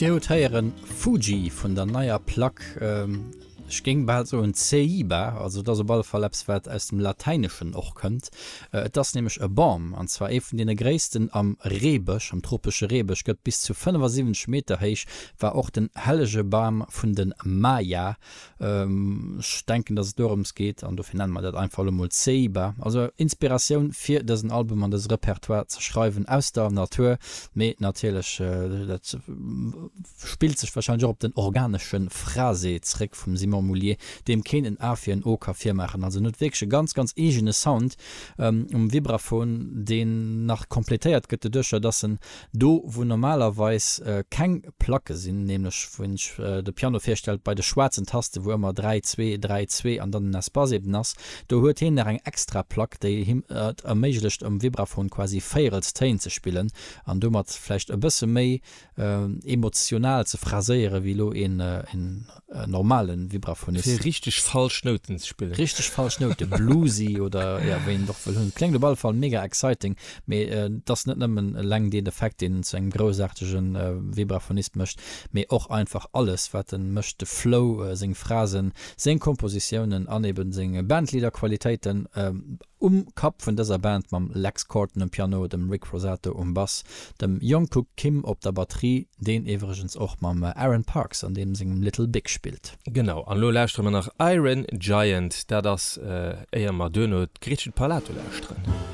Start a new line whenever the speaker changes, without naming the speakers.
Dir hutt héieren Fuji vun der neier Plack, ech géing bal soen Ceiba, also et ass op alle Fall eppes wat aus dem Latäineschen och kënnt. Et ass nämlech e Bam, an zwar ee vun deene gréissten am Reebësch, am tropesche Reebësch, gëtt bis zu 75 Meter héich, war och den hellege Bam vun de Maya. Ech denken, dass et dorëms geet, an dofir nenne mer dat einfach elo mol Ceiba. Also Inspiratioun fir dësen Album an dëse Repertoire ze schreiwen aus der Natur, mee natierlech, dat spillt sech warscheinlech och op den organesche Phrasé zréck vum Simon Moullier, deem keen en A fir en O ka virmaachen. Also en huet wierklech e ganz, ganz eegene Sound um Vibraphon, deen nach completéiert gëtt doduercher, dass en Do wou normalerweis keng Placke sinn, nämlech wou een sech de Piano virstellt bei de schwaarzen Tasten, wou ëmmer 3, 2, 3, 2 an dann en Espace eben ass, do huet heen nach eng extra Plack, déi him et erméiglecht um Vibraphon quasi Véierelstéin ze spillen an domat vläicht e bësse méi emotional ze phraséiere wéi elo een normalen Vibraphonist.
Fir richteg falsch Nouten ze spillen.
Richteg falsch Nouten, bluesy oder jo, wéi een et och wëll hunn. Kléngt op alle Fall mega exciting, mee et ass net nëmmen eleng deen Effekt, deen en zu engem groussaartege Vibraphonist mécht, mee och einfach alles wat en mécht, de Flow, seng Phrasen, seng Kompositiounen an eben seng Bandleader-Qualitéiten. Um Kapp vun dëser Band mam Lex Korten um Piano, dem Rick Rosato um Bass, dem Jungkook Kim op der Batterie, deen iwwregens och mam Aaron Parks an deem sengem Little Big spillt.
Genau, an elo lauschtere mer nach Iron Giant, dat ass éier mer duerno d'Gretchen Parlato lauschteren.